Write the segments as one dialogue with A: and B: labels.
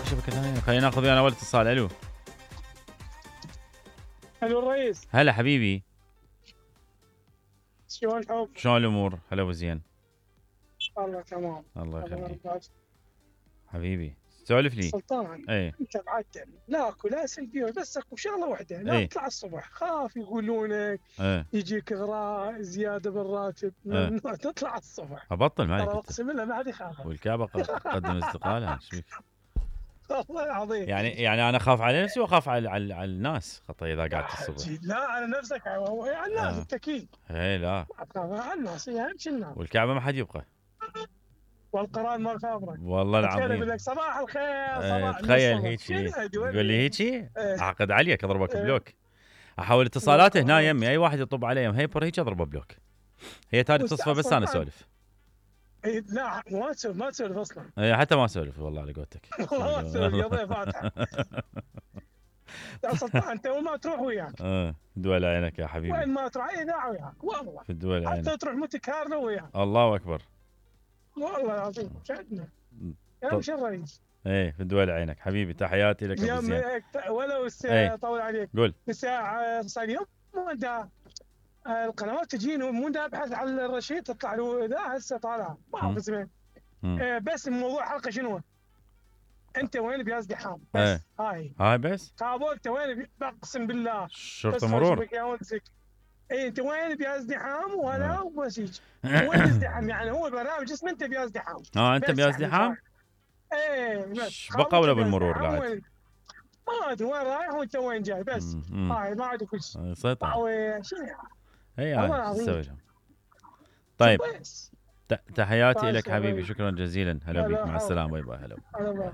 A: شبكه ثانيه. خلينا ناخذ ويانا اول اتصال. الو
B: الو الرئيس.
A: هلا حبيبي،
B: شلون الحب؟
A: شلون الامور؟ هلا وزين.
B: والله تمام.
A: الله يخليك حبيبي. سولف لي.
B: سلطان، انت معدل لا اكو لا سلبيه، بس اكو شغله واحده، لا تطلع الصبح، خاف يقولونك يجيك اغراء زياده بالراتب، ممنوع تطلع الصبح.
A: ابطل مالك
B: ترى اقسم بالله ما حد يخاف.
A: والكعبه قدم استقاله. ايش بك؟
B: والله العظيم.
A: يعني انا اخاف على نفسي واخاف على الناس خطا اذا قعدت الصبح.
B: لا على نفسك، على الناس انت اكيد.
A: اي لا
B: على الناس، هي اهم شيء الناس.
A: والكعبه ما حد يبقى.
B: والقران ما خابرك
A: والله العظيم.
B: يقول لك صباح الخير صباح
A: تخيل هيك يقول لي هيك اعقد عليك اضربك بلوك. احول اتصالاته هنا يمي، اي واحد يطب علي هيبر هيك اضربه بلوك. هي تالي تصفى بس انا اسولف.
B: لا ما تسولف اصلا.
A: حتى ما اسولف والله على قولتك.
B: والله ما تسولف قضيه فاتحه. يا سلطان انت وين ما تروح وياك.
A: دول عينك يا حبيبي.
B: وين ما تروح اذاعه وياك والله.
A: في الدول عينك.
B: حتى تروح مونتي كارلو وياك.
A: الله اكبر.
B: والله العظيم شهدنا. يا مش الرئيس.
A: في الدول عينك حبيبي. تحياتي لك ابو زين.
B: ولو طول عليك.
A: قول.
B: الساعه صار يوم القنوات تجيني مو ابحث على الرشيد تطلع له ذا هسه طالع ما اعرف اسمه. بس الموضوع حلقه شنو؟ انت وين بياز دحام بس. هاي
A: بس.
B: قابل انت وين اقسم بالله.
A: شرطه مرور.
B: انت وين بياز دحام ولا مسج. وين ازدحام يعني هو برنامج اسمه انت بياز دحام.
A: انت بياز دحام.
B: بس
A: بقى ولا بالمرور بعد.
B: ما ادري وين رايح وانت وين جاي بس. هاي ما عندك كل شيء.
A: سيطر.
B: شنو
A: تسوي لهم. طيب تحياتي لك حبيبي. شكرا جزيلا. هلا بيك. مع السلامه. باي باي. هلا.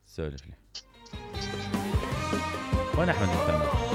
A: سولف لي. وين احمد الفنان؟